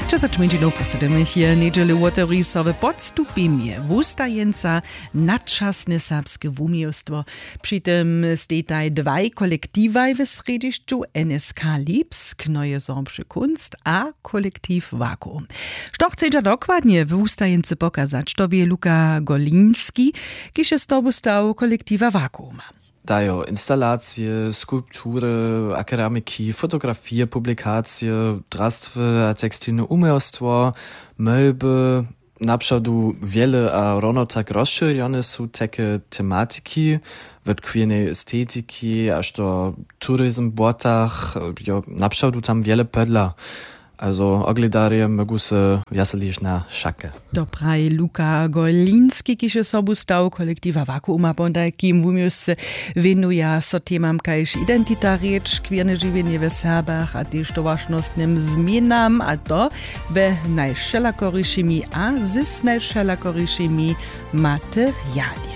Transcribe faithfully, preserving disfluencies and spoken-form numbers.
Třesaćminčinow po sydomich je njedźelu wotewri so w Podstupimje wustajeńca Nadčasne serbske wuměłstwo. Při tym stejtaj dwaj kolektiwaj w srjedźišću, N S K Lipsk, Neue Sorbsche Kunst a kolektiw Vakuum. Što chcedźa dokładnje w wustajeńcy pokazać, to bě Luka Golinski, kiž je z tobu stał kolektiwa Vakuuma. Dajo instalacije, skulptury, a keramiki, fotografije, publikacije, drastwy a tekstilne uměłstwo, mejby. Napřadu wjele a rano tak rozšěrjone su teke tematiki, wot queernej estetiki až do turizm w błotach, jo, napřadu tam wjele pedla. Also ogledarje mógu se wjaseliš na šake. To praji Luka Golinski, kiž je sobu stał kolektiwa Vakuuma, potajkim wuměłsce wěnuja so temam kaž identita, rěč, queerne žiwjenje w Serbach a tež towaršnostnym změnam, a to we najwšelakorišimi a z najwšelakorišimi materialje.